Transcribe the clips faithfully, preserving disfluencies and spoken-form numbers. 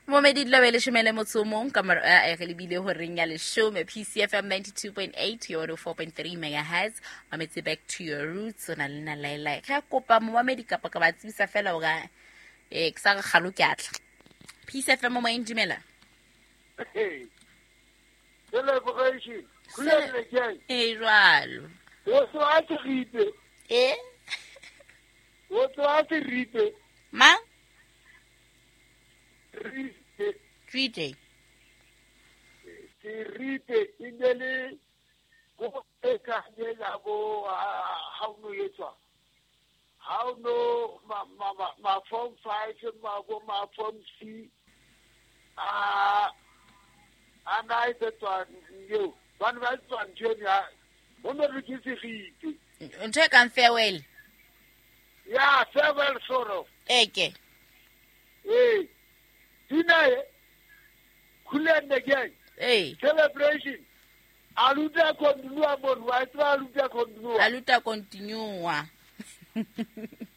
Momedi dilo leshome le motso o mong ka mora eh, re lebile horeng ya leshome. P C F M ninety-two point eight, your four point three megahertz. Mametse back to your roots o na le nna Laila. Ke a kopa momamedi kapa ka ba tsebisa fela hore eh ke sa re kgalo ke atla. P C F M mo moyeng, dumela. Celebration. Cele- Eh jwalo. O tloha Seripe. Eh? O tloha Seripe. Mang? Ripe. Ripe. Seripe e ne le go e ka nyela bo ha o no etswa. Ha o no ma ma ma, ma form five ma bo ma form C. A a na e tswa yo. Ba ne ba tswa ntho ya ho no re ke Seripe. Ntho e kang farewell. Ya farewell sort of. Eke. Eh. Dina e Khulenne again. Eh. Celebration. Aluta continua mon wa tswa aluta continua. Aluta continua.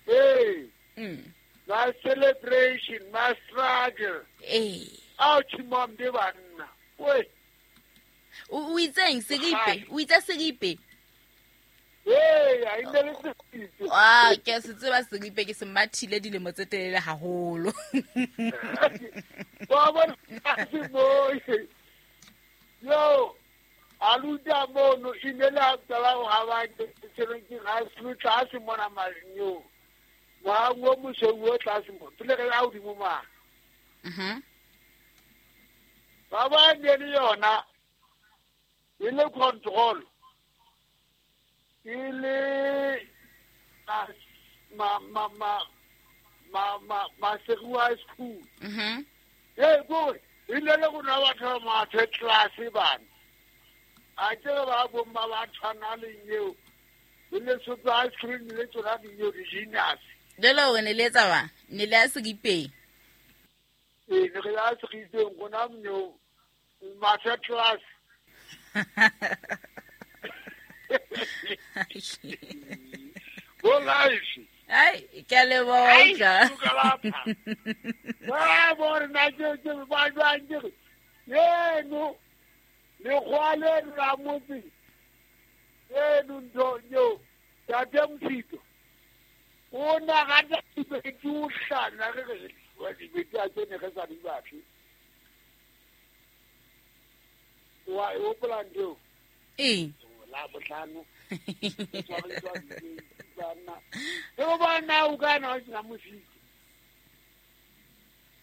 Eh. Mm. My celebration, my struggle. Eh. Ouch mom de banna. We. O itseng Seripe? O itse Seripe? Eh, a ine le Seripe. Ah, ke se tseba Seripe ke se mathile dilemo tse telele haholo. Ba bona se mo. Yo, aluta mono ine la tsala ha ba ke tshwereng high school tlase mona manyo. Wa ngo mosweu o tlase mo. Pele re a hodimo ma. Mhm. Ba ba ne le yona e le control. E le ma ma ma ma ma ma Seripe school. Mhm. Eh go e le le go na batho ba mathe class bana. A ke ba bo mma ba tshwana le eo. E le sotho ice cream le tsona di eo di genius. Jalo hore ne le etsa ba? Ne le ya Seripeng. Eh ne re ya Seripeng gona mno mathe class. Go life. Ai, ke a leboha utlwa. Ba bona na ke ke ba jwang ke. Yeno le khwale ra motse. Yeno ndo yo tate Mosito. O na ga ke ke o hlana re re wa di beta ke ne re sa di batle. Wa o plan do. Eh. La botlhano. Bana. E bana o kana o na Mosito.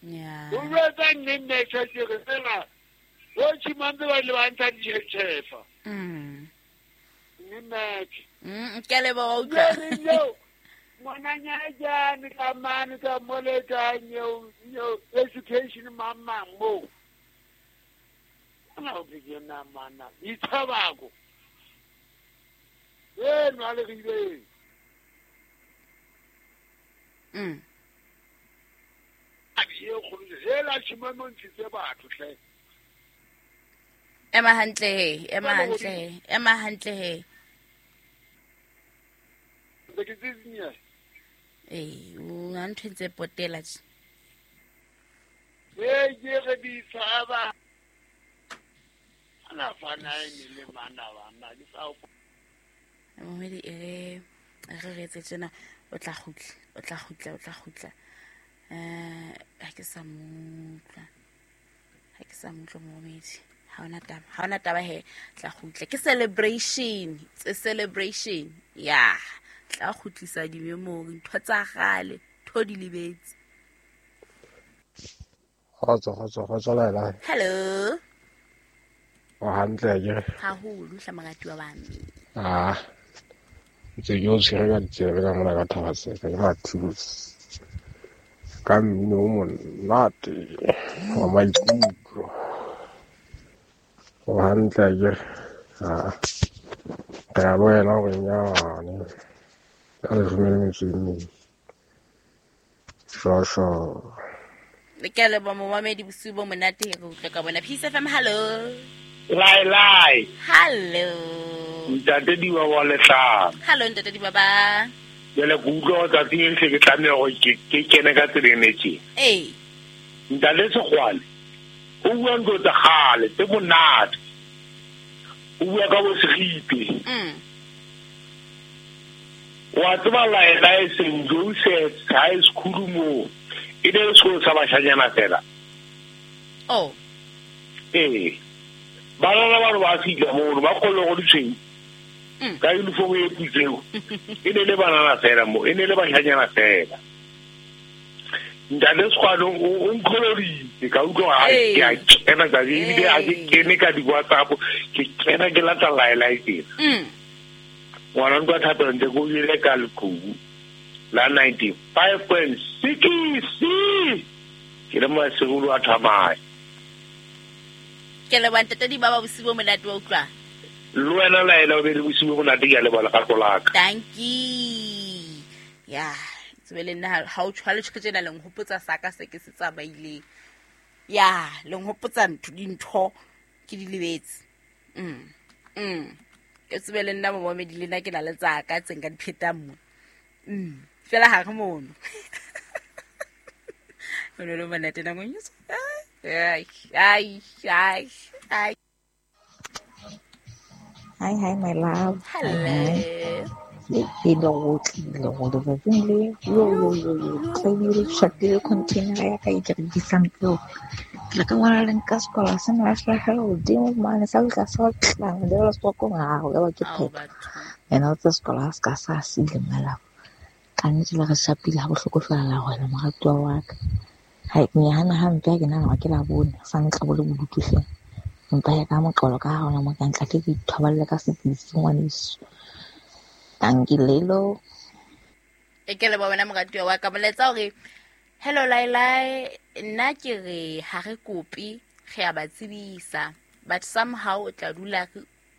Yeah. O re nne nne tse re fela. O tshimambe ba le ba ntsha ditšhefa. Mm. Nne match. Mm, ke a leboha utlwa. Ngwananyana jane ka mane ka mole ka nyo nyo education mama mo. Ana o ke na mana. Ithabako. Eh no le re. Mm. A ye go hela tshimambe ntshitse batho hle. Ema hantle he, ema hantle he, ema hantle he. Ke tsitsinya. Eh, o a ntho tse potela tje. Eh, ke re di tshaba. Ana fana e le mana bana ke sa o. Momedi e re re etse tjena o tla kgutla, o tla kgutla, o tla kgutla. Eh, ha ke sa mo utlwa. Ha ke sa mo utlwa momedi. Ha ona taba, ha ona taba he, tla kgutla. Ke celebration, it's a celebration. Yeah. Tla kgutlisa di-memory, ntho tsa kgale, ntho di lebetse. Kgotso, kgotso, kgotso Laila. Hello. O hantle akere? Haholo hla moratuwa wa me. Ah. Ntse ke o tshwere ka ditsebe ka mona ka Thaba-Tseka ke Mathews. Ka mmino o monate wa maikutlo. O hantle akere? Ah. Re a boela hore nyane. Ka leshome le metso e mmedi. Shosho. Ke a leboha momamedi, bosiu bo monate re utlwa ka bona. Peace F M, hello. Lai lai. Hello. Ntate Diba wa Letlhano. Hello ntate Diba ba. Jwale ke utlwa tsatsing le ke tlameha hore ke ke kene ka tseleng e tje. Eh. Ntate Sekgwane o bua ntho tsa kgale tse monate. O bua ka bo Segipe. Mm. Wa tseba Laelae Saint Joseph's High School mo e ne sekolo sa bashanyana fela. Oh. Ee. Banana ba re ba fihla mono ba kgone go ditshweu. Ka uniform e putseo. E ne le banana fela mo, e ne le bashanyana fela. Ntate Sekgwane o nkgoloditse ka utlwa ha ke a kena ka ebile ha ke kene ka di-WhatsApp ke kena ke lata Laelae tena. Mm. Ngwana ntwa thapelo ntse ko ile ka leqhubu la ninety-five point six ke le masegolo a thamaya. Ke leboha ntate Dibaba bosiu bo monate wa utlwa. Le wena Laela o be le bosiu bo monate, ke a leboha lerato la ka. Thank you. Ya, tsebe le nna ha o tshwale tjhe tjena le nhopotsa saka se ke se tsamaileng. Ya, le nhopotsa ntho dintho ke di lebetse. Mm. Mm. Ke tsebe le nna momamedi le nna ke na le tsaka tse nka di phetang mo. Mm. Fela ha re mono. O no le monate nako nyetso. Ai, ai, ai, ai. Hi, hi, my love. Hello. Ke le go tlile go letsatsing le yo yo yo yo tlamehile shapile container ya ka e ke rekisang peo. Ke ka ngwana le nka sekolo se ne se hlahela hodimo mane sa tla sa tla le la sekolo ga go ba ke Ao phetho. batho. Ena o tsa sekolo ha se ka sa sile malapa. Ka nnete le re shapile ha bohloko fela la wena moratuwa wa ka. Ha ke nyahana hampe ha ke nahana hore ke Labone sa ntla bo le bodutu hle. Empa ya ka moqolo ka ha hona mo ka ntla ke ithoballe ka sepitsi ngwaneso. Thank you, Lelo. E ke leboha wena moratuwa wa ka. Molaetsa hore hello Laelae, nna ke re ha re kope re a ba tsebisa, but somehow o tla dula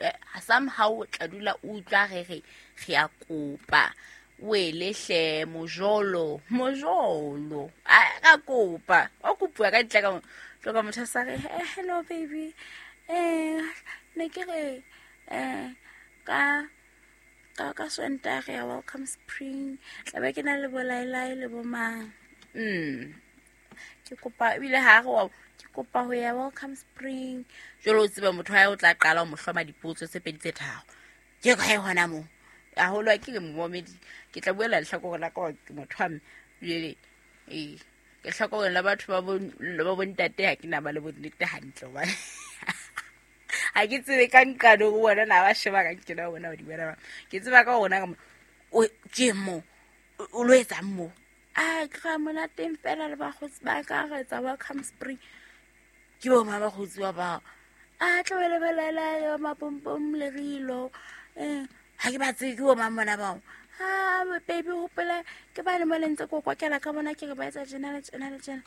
eh, somehow o tla dula o utlwa re re re a kopa. Wele hle mojolo, mojolo. A ra kopa. O kopuwa ka ditla ka mo. Tloka motho a sa re, "Eh, hello baby. Eh, ne ke re eh ka ka ka Sontaga ya Welcome Spring tla be ke na le bo Laelae le bo mang." Mm. Ke kopa ebile ha re wa ke kopa ho ya Welcome Spring. Jwale o tsebe motho wa hae o tla qala ho mo hloma dipotso tse pedi tse tharo. Ke kae hona moo? Haholo ha ke re momamedi ke tla buela lehlakore la ka hore ke motho wa mme. Jwale ee ke hlakoreng la batho ba bo ba bontate ha ke na ba le bonnete hantle hobane ha ke tsebe ka nqane ho bona na ba sheba ka nkena ho bona ho di bona. Ke tseba ka hona ka mo o ke mo o lo etsang mo. A ke ra monateng fela le bakgotsi ba ka re etsa Welcome Spring. Ke bo ma bakgotsi ba bao. A tla be le belela mapompom le rilo. Eh ha ke ba tsebe ke bo mang bona bao. Ha baby hopola ke ba le mo le ntse ko kwakela ka bona ke re ba etsa tjena le tjena le tjena.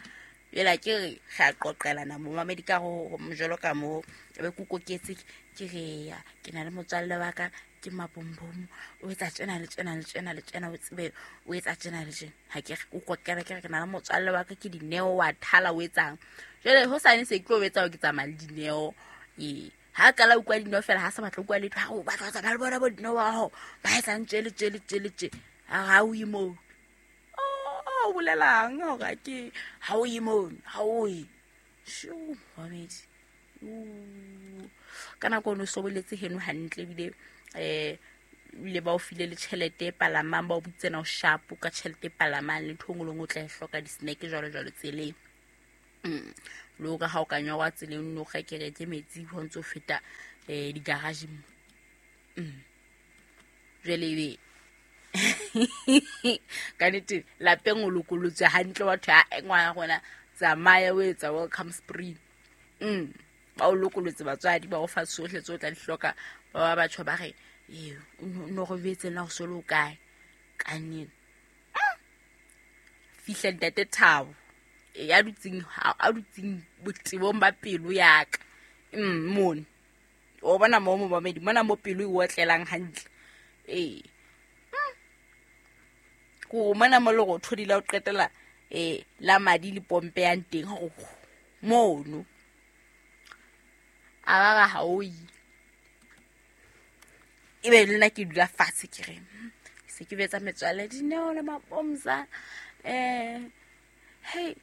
Jwale ke re re a qoqelana momamedi ka ho mojolo ka mo be ke koketse ke re ya ke na le motswalle wa ka ke mapompom o etsa tjena le tjena le tjena le tjena o tsebe o etsa tjena le tjena. Ha ke re o kokela ke re ke na le motswalle wa ka ke Dineo wa thala o etsang. Jwale ho sane se ke tlo etsa ke tsamaya le Dineo. Ee ha kala utlwa Dineo fela ha sa batla utlwa letho ha o batla ho tsamaya le bona bo Dineo wa hao ba etsang tje le tje le tje le tje. Ha o ye moo. Oh, o bolelang hore ke ha o ye moo, ha o ye. Sho, momamedi. Ka nako o no soboletse heno hantle ebile eh ebile ba o file le tjhelete e palamang ba o bitsena o sharp ka tjhelete e palamang le ntho e nngwe le nngwe o tla e hloka di-snack jwalo jwalo tseleng. Mm. Le hore ha o ka nyorwa tseleng o no reke reke metsi ho ntso feta eh di-garage mo. Mm. Jwale ebe ka nnete lapeng o lokolotswe hantle wa thwe ha ngwana rona tsamaya o etsa Welcome Spring. Mm. Ba o lokolotse batswadi ba o fa tsohle tse o tla di hloka ba ba batho ba re ee o no re betse na o so le o kae ka nnete. Fihla ntate Thabo e ya dutseng a dutseng botebong ba pelo ya ka. Mm mone. O bona mo momamedi mona mo pelo e otlelang hantle. Ee. Ko mona mo lerothodi la o qetela eh la madi le pompe yang teng hore mono. A ba ra ha o ye. Ebe le nna ke dula fatshe ke re se ke betsa metswalle Dineo le Mapomza. Eh hey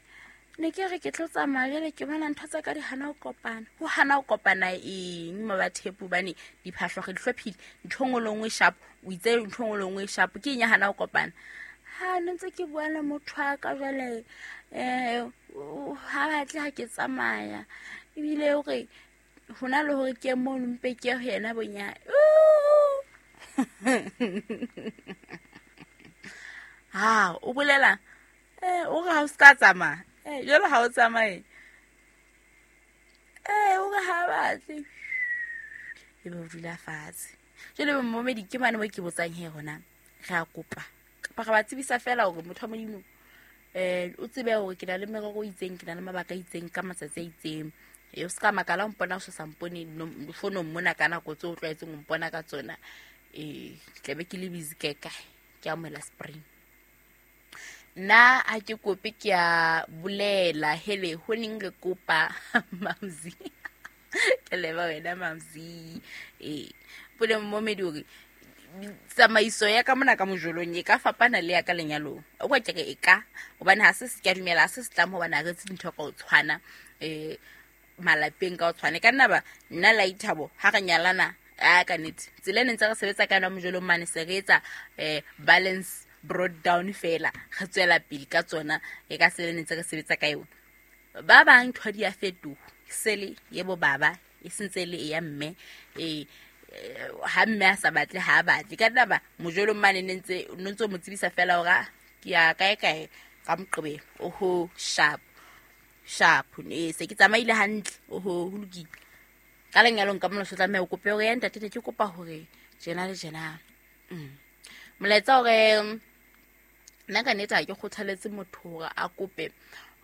Ne ke re ke tlo tsamaya jwale ke bona ntho tsa ka di hana ho kopana. Ho hana ho kopana eng Mabathepu bane diphahlo re di hlophile ntho nngwe le nngwe sharp o itse ntho nngwe le nngwe sharp ke eng ya hana ho kopana. Ha ne ntse ke bua le motho wa ka jwale eh ha batle ha ke tsamaya ebile hore hona le hore ke mo mpe ke ho yena bonya. Ha o bolela eh o re ha o ska tsamaya eh jwale ha o tsamaye eh o re ha batle e be o dula fatshe. Jwale momedi ke mane mo ke botsang he hona re a kopa kapa re ba tsebisa fela hore motho wa Modimo eh o tsebe hore ke na le merero e itseng ke na le mabaka a itseng ka matsatsi a itseng. E o ska makala o mpona o sa mpone fonong mona ka nako tseo o tlwaetseng o mpona ka tsona eh ke tlabe ke le busy kae kae ke amohela spring. Nna ha ke kope ke a bolela hele ho neng re kopa Mamzi ke leba wena Mamzi eh pole momedi hore tsamaiso ya ka mona ka mojolong e ka fapana le ya ka lenyalong o kwa ke re e ka hobane ha se se ke a dumela ha se se tlamo hobane ha re tse dintho ka o tshwana eh malapeng ka o tshwane ka nna ba nna la ithabo ha re nyalana a ka nnete tsela e ne ntse re sebetsa ka yona mojolong mane se re etsa eh balance brought down fela re tswela pele ka tsona e ka tsela e ne ntse re sebetsa ka yona. Ba bang ntho di a fetoha sele yebo baba e sentse le ya mme eh ha mme a sa batle ha batle ka nna ba mojolong mane ne ntse no ntse mo tsebisa fela hore ke ya kae kae ka Moqebelo oho sharp sharp ne se ke tsamaile hantle oho ho lokile. Ka lenyalong ka mona so tlameha o kope hore ya ntate ne ke kopa hore jena le jena mm molaetsa hore nna ka nnete ha ke kgothaletse motho hore a kope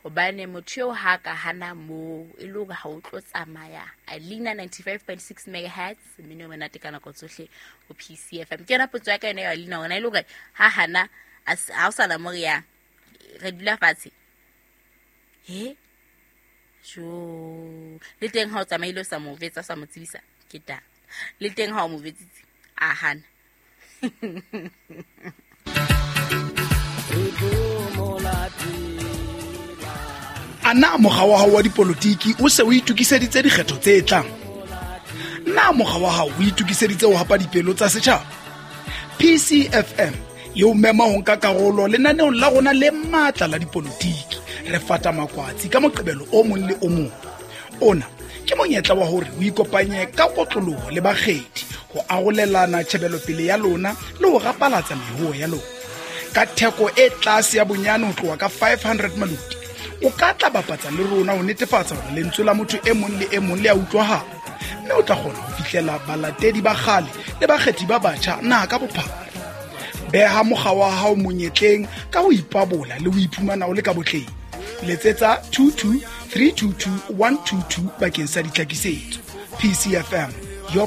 hobane motho eo ha ka hana mo e le hore ha o tlo tsamaya. Alina ninety-five point six megahertz mmino o monate ka nako tsohle ho P C F M. Ke yona potso ya ka yona ya Alina hore na e le hore ha hana ha o sana mo re yang re dula fatshe he jo le teng ha o tsamaile o sa mo vetsa sa mo tsebisa ke taba le teng ha o mo vetsitse a hana. Ana mokga wa hao wa dipolotiki o se o itokiseditse dikgetho tse tlang? Na mokga wa hao o itokiseditse ho hapa dipelo tsa setjhaba? P C F M e o mema ho nka karolo lenaneong la rona le matla la dipolotiki. Re fata makwatsi ka Moqebelo o mong le o mong. Ona ke monyetla wa hore o ikopanye ka kotloloho le bakgethi ho arolelana tjhebelopele ya lona le ho rapalatsa mehoho ya lona. Ka theko e tlase ya bonyane ho tloha ka five hundred maloti, o ka tla bapatsa le rona ho netefatsa hore lentswe la motho e mong le e mong le a utlwahala, mme o tla kgona ho fihlela balatedi ba kgale le bakgethi ba batjha naha ka bophara. Beha mokga wa hao monyetleng ka ho ipabola le ho iphumana o le ka botleng. Letsetsa two two three two two one two two bakeng sa ditlhakisetso. P C F M, your